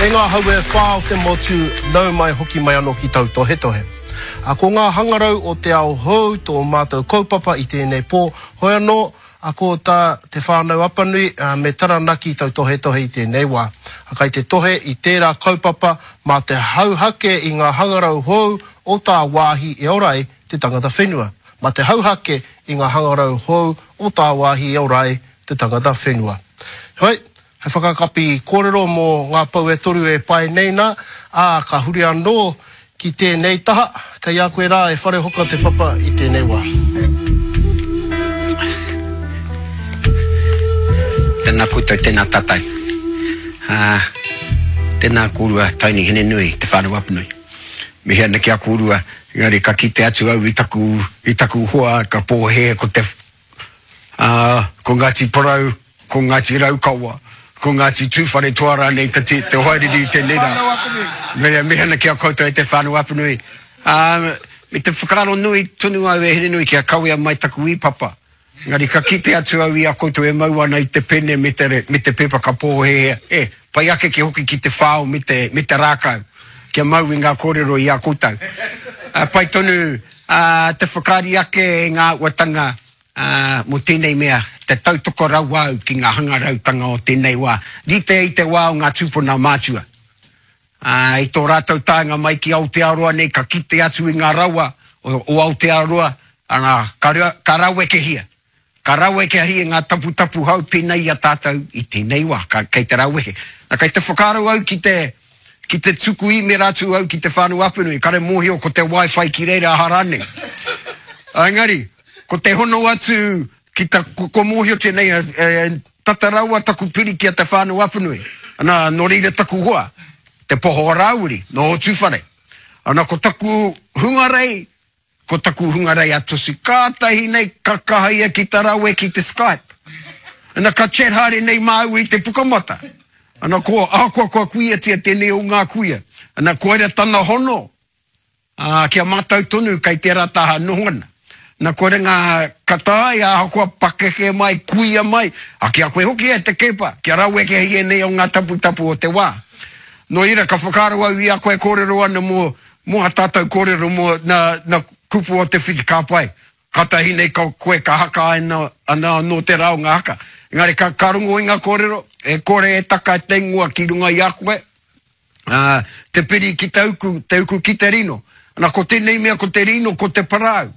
E ngā hau e wha o te motu, nau mai hoki mai anō ki tautohetohe. A ko ngā hangarau o te ao hou tō mātou kaupapa i tēnei pō, hoi anō, a ko tā Te Whānau Apanui me Taranaki tautohetohe i tēnei wā. A kai te tohe i tērā kaupapa mā te hauhake i ngā hangarau hou o tāwāhi e ora ai te tangata whenua. Mā te hauhake i ngā hangarau hou o tāwāhi e ora ai te tangata whenua. Heoi, hei whakakapi kōrero mō ngā pou e toru e pae nei nā, ā, ka huri anō ki tēnei taha, kei a koe rā e Wharehoka te papa i tēnei wā. Tēnā koutou, tēnā tātou. Ā, tēnā kōrua Tony Hinenui, Te Whānau Apanui. Mihi ana ki a kōrua, engari ka kite atu au i taku, i taku hoa ka pōhēhē ko te Ā, ko Ngāti Porou, ko Ngāti Raukawa, ko Ngāti Tūwharetoa rānei te, te hoariri i tēnei rā. Nō reira, mihi ana ki a koutou e Te Whānau Apanui. Ā, me te whakaaro nui tonu au e Hinenui kia kawea mai taku īpapa. Engari ka kite atu au i a koutou e mau ana i te pene me te, me te pepa ka pōhēhē, e, pai ake ki hoki ki te whao me te, me te rākau, kia mau i ngā kōrero i a koutou. Ā, pai tonu, ā, te whakaari ake i ngā āhuatanga, ā, mō tēnei mea, te tautoko rawa au ki ngā hangarautanga o tēnei wā, rite i te wā o ngā tūpuna mātua. Ā, i tō rātou taenga mai ki Aotearoa nei ka kite atu i ngā rawa o Aotearoa, ana, ka, ka rawekehia. Ka rawekehia ngā taputapu hou pēnei i a tātou i tēnei wā, ka, kei te raweke. Na, kei te whakaaro au ki te, ki te tuku īmera atu au ki Te Whānau Apanui, kare mōhio ko te wifi ki reira aha rānei. Engari, ko te hono atu ki ta, kua mōhiotia nei e, e, Tata rawa taku piri ki a Te Whānau Apanui. Ana, nō reira taku hoa, Te Poho o Rāwiri, nō Ōtūwhare. Ana, ko taku hungarei, ko taku hungarei a Tusi. Kātahi nei ka kaha ia ki ta rawe ki te Skype. Ana, ka chat haere nei māua i te pukamata. Ana, ko, ahakoa kua kuiatia tēnei o ngā kuia. Ana, koira tana hono. Ā, ki a mātou tonu kei tērā taha noho ana. Na kore ngā ka taea ahakoa pakeke mai, kuia mai, a ki a koe hoki e te Keepa, kia rawekehia ēnei o ngā taputapu o te wā. Nō reira, ka whakaaro au i a koe kōrero ana mō, mō ā tātou kōrero mō nā, nā kupu o te whiti ka pai. Kātahi nei ka koe ka haka ana, ana anō te rā o ngā haka. Engari ka, ka rongo i ngā kōrero, e kore e taka te ingoa ki runga i a koe, Ā, te piri ki te uku, te uku ki te rino. Na, ko tēnei mea ko te rino, ko te parau.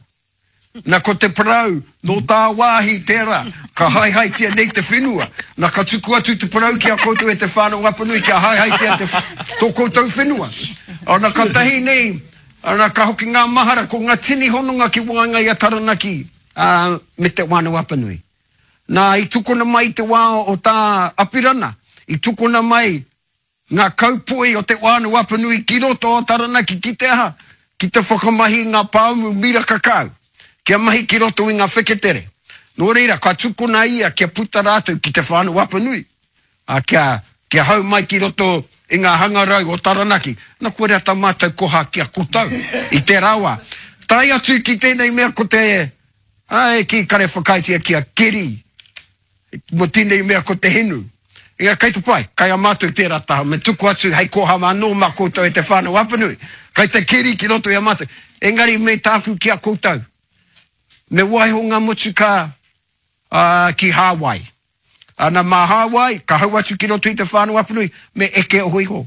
Na, ko te parau, nō tāwāhi tērā, ka haehaetia nei te whenua. Na, ka tuku atu te parau ki a koutou e Te Whānau Apanui kia haehaetia te, tō koutou whenua. Ana, katahi nei, ana, ka hoki ngā mahara, ko ngā tini hononga ki waenga i a Taranaki, ā, me Te Whānau Apanui. Nā, i tukuna mai i te wā o tā Apirana, i tukuna mai Ngā kaupoi o Te Wānau Apanui ki roto o Taranaki ki te aha? Ki te whakamahi i ngā pāmu miraka kau, kia mahi ki roto i ngā wheketere. Nō reira, ka tukuna ia kia puta rātou ki Te Whānau Apanui, ā, kia, kia hau mai ki roto i ngā hangarau o Taranaki. Na, koira tā mātou koha ki a koutou i tērā wā. Tae atu ki tēnei mea ko te, ā, e kī kare whakaaetia ki a Keri, Mo tenei mea ko te hinu. Engari kei te pai, kai a matou tera taha, me tuku atu hei koha anō ma koutou e te whanau Apanui. Kai te keri ki roto i a matou. Engari me tāku ki a koutou, me waiho nga motukā ki Hāwai. Ana mā Hāwai, ka hau atu ki roto i te whanau Apanui, me eke oho iho.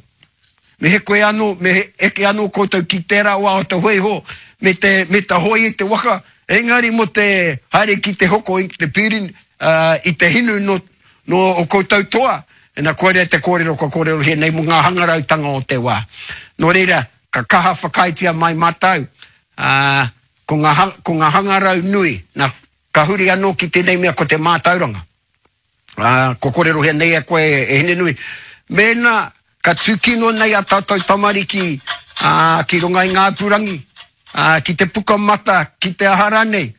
Me he koe anō, me he eke anō koutou ki tērā wā o te hōiho, me te, me te hoe i te waka, engari mō te haere ki te hoko i te pīrin, ā, i te hinu nō, nō o koutou toa, ina koira te kōrero kua kōrerohia nei mō ngā hangarautanga o te wā. Nō reira, ka kaha whakaaetia mai mātou, ā, ko ngā, ko ngā hangarau nui, nā, ka huri anō ki tēnei mea ko te mātauranga. Ā, kua kōrerohia nei e koe, e Hinenui, mēnā ka tūkino nei a tātou tamariki, ā, ki runga i ngā apurangi, ā, ki te pukamata, ki te aha rānei,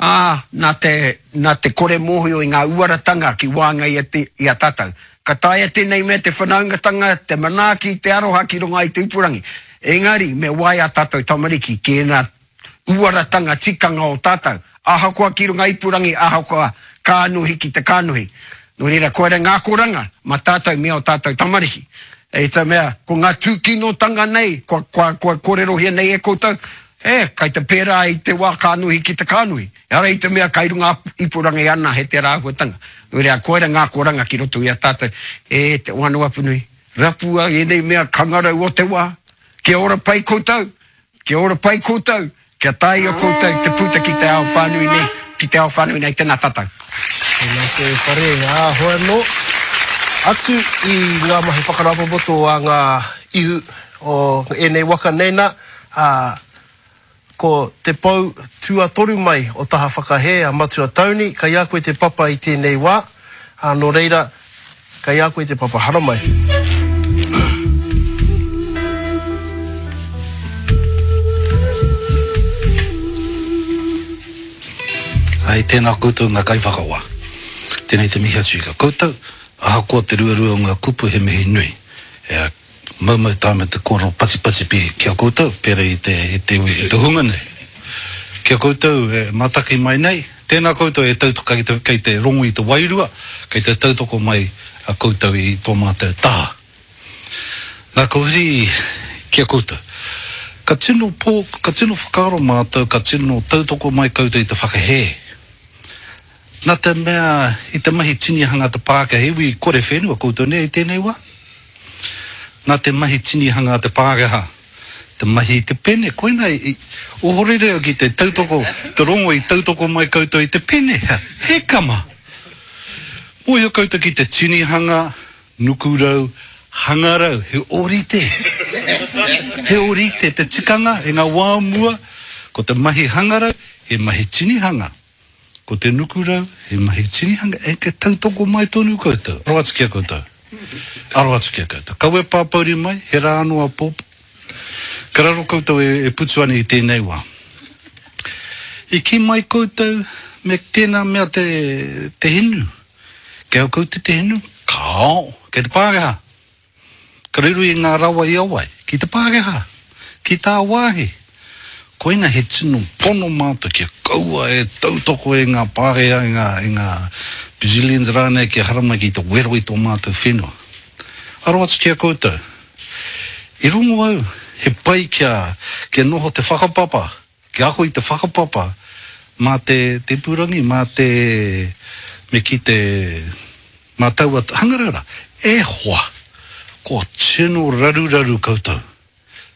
ā, nā te, nā te kore mōhio i ngā uaratanga ki waenga i a, i a tātou. Ka taea tēnei mea te whanaungatanga, te manaaki, te aroha ki runga i te ipurangi. Engari, me waia ā tātou tamariki ki ēnā uaratanga tikanga o tātou, ahakoa ki runga ipurangi, ahakoa kānohi ki te kānohi. Nō reira, koira ngā akoranga mā tātou me ō tātou tamariki. I te mea, ko ngā tūkinotanga nei, kua, kua, kua kōrerohia nei e koutou, e, kai te pērā i te wā kānohi ki te kānohi. Ehara i te mea kai runga ipurangi anahe tērā āhuatanga. Nō reira, koira ngā akoranga ki roto i a tātou, e te Whānau Apanui, rapua ēnei mea kangarau o te wā, kia ora pai koutou, kia ora pai koutou, Kia taea koutou te puta ki te ao whānui nei, ki te ao whānui nei, tēnā tātou. Tēnā koe e Whare, ā, hoi anō, atu i ngā mahi whakarāpopoto a ngā ihu o ēnei waka nei nā, ā, ko te pou tuatoru mai o taha whakahē a Matua Tony, kei a koe te papa i tēnei wā, ā, nō reira, Kei a koe te papa haramai. Ai, tēnā koutou ngā kaiwhakawā. Tēnei te mihi atu ki a koutou, ahakoa te ruarua o ngā kupu he mihi nui. E maumau tā me te kōrero patipati pi ki a koutou, pērā i te, i te iwi, i te hunga nei. Ki a koutou e mātaki mai nei, Tēnā koutou e tautoko kei te, kei te rongo i te wairua, kei te tautoko mai a koutou i tō mātou taha. Nā, ka huri ki a koutou. Ka tino pō, ka tino whakaaro mātou, ka tino tautoko mai koutou i te whakahē. Nā te mea i te mahi tinihanga a te Pākehā, he iwi kore whenua koutou nei i tēnei wā. Nā te mahi tinihanga a te Pākehā, Te mahi i te pene, koina i ohorere au ki te tautoko, te rongo i tautoko mai koutou i te pene, he kama! Mōhio koutou ki te tinihanga, nukurau, hangarau, he ōrite! He ōrite te tikanga i ngā wā o mua, ko te mahi hangarau, he mahi tinihanga. Ko te nukurau, he mahi tinihanga, e te tautoko mai tonu koutou. Aro atu ki a koutou. Aro atu ki a koutou. Kaua e pāpouri mai, he rā anō āpōpō. Ka raro koutou e, e putu ana i tēnei wā. I kī mai koutou me tēnā mea te, te hinu. Kei au koutou te hinu? Kāo, kei te Pākehā. Ka riro i ngā rawa i a wai? Ki te Pākehā? Ki tāwāhi? Koina he tino pono mātou kia kaua e tautoko e ngā Pākehā, e ngā, e ngā Brazilians rānei kia haramai ki te wero i tō mātou whenua. Aro atu ki a koutou. I rongo au, he pai kia, kia noho te whakapapa, kia ako i te whakapapa mā te, te ipurangi, mā te, me kī te, Mā taua hangarau rā, e hoa, kua tino raruraru koutou.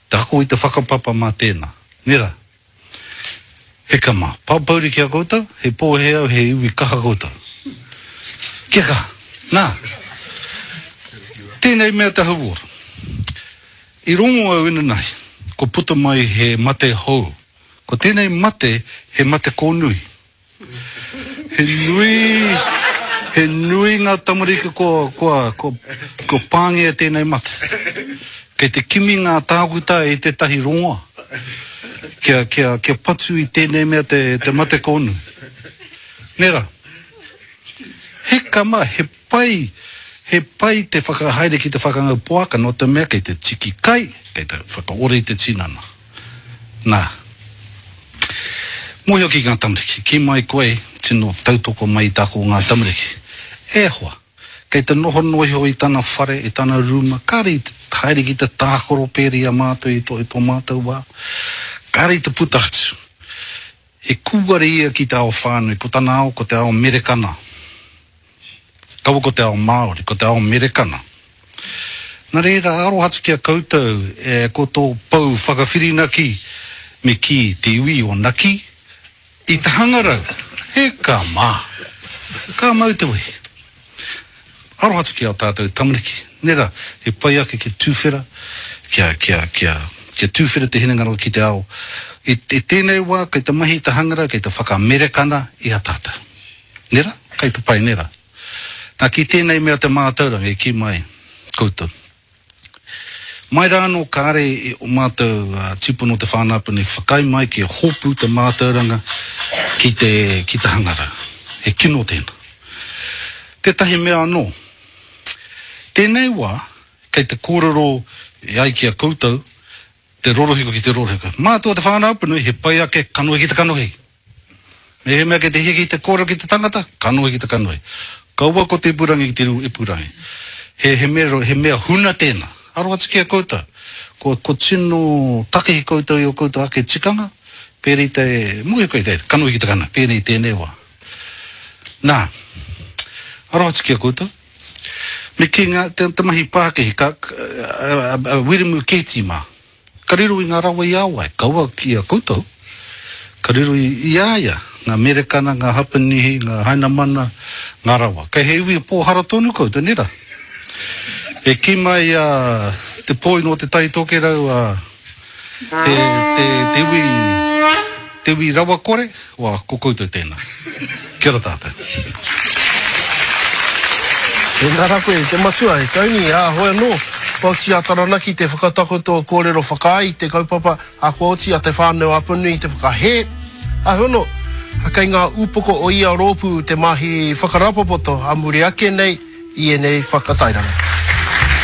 Te ako i te whakapapa mā tēnā. Nē rā? Heka mā, pāpouri ki a koutou, he pōhē au, he iwi kaha koutou. Kia kaha. Nā, tēnei mea te hauora. I rongo au inanahi, kua puta mai he mate hou. Ko tēnei mate, he mate kōnui. He nui, he nui ngā tamariki kua, kua, kua, kua pāngia e tēnei mate. Kei te kimi ngā tākuta i tētahi rongoa kia, kia, kia patu i tēnei mea te, te mate kōnui. Nē rā? He kama, he pai, he pai te whakahaere ki te whakangau poaka nō te mea kei te tiki kai, kei te whakaora i te tinana. Nā. Mōhio ki ngā tamariki, kī mai koe, tino tautoko mai i te ako o ngā tamariki. E hoa, kei te noho noa iho i tana whare, i tana rūma, kāre i te haere ki te tākaro pērā i a mātou i tō, i tō mātou wā. Kāre i te puta atu. He kūare ia ki te ao whānui, ko tana ao ko te ao merekana. Kaua ko te ao Māori, ko te ao Merekana. Nā reira, aroha atu ki a koutou, e, ko tō pou whakawhirinaki, me kī, te iwi o Naki, i te hangarau. E ka mā! Ka mau te wehi. Aroha atu ki ā tātou tamariki. Nē rā, he pai ake kia tuwhera, kia, kia, kia, kia tuwhera te hinengaro ki te ao. I, i tēnei wā, kei te mahi i te hangarau, kei te whakamerekana i a tātou. Nē rā? Kei te pai, nē rā? Nā, ki tēnei mea te mātauranga i kī mai koutou. Mai rā anō kāre i o mātou tīpuna o Te Whānau-a-Apanui whakaae mai kia hopu te mātauranga ki te, ki te hangarau. He kino tēnā. Tētahi mea anō, tēnei wā kei te kōrero e ai ki a koutou te rorohiko ki te rorohiko. Mātou o Te Whānau-a-Apanui he pai ake kanohi ki te kanohi. Mehemea kei te hiahia ki te kōrero ki te tangata, kanohi ki te kanohi. Kaua ko te ipurangi ki te ipurangi. He, he, mea, he mea huna tēnā. Aroha atu ki a koutou. Ko, ko tino takihi koutou i o koutou ake tikanga, pērā i te, mōhio koe i te kanohi ki te kanohi, pēnei i tēnei wā. Nā, aroha atu ki a koutou. Me kī ngā, te, te mahi pākihi, ka, a, a, a Wiremu Keeti mā, ka riro i ngā rawa i a wai, kaua ki a koutou, ka riro i, i a ia, ngā Merekana, ngā Hapanihi, ngā Hainamana, ngā rawa. Kei he iwi pōhara tonu koutou, nē rā? E kī mai a te poi nō Te Tai Tokerau a te, te, te iwi, te iwi rawakore, wa, ko koutou tēnā. Kia ora tātou. Tēnā rā koe, te matua, e Tony, ā, hoi anō, kua oti a Taranaki te whakatakoto kōrero whakaae i te kaupapa, ā, kua oti a Te Whānau-a-Apanui te whakahē, ā, hoi anō, kei ngā ūpoko o ia rōpū te mahi whakarāpopoto ā muri ake nei i ēnei whakatairanga.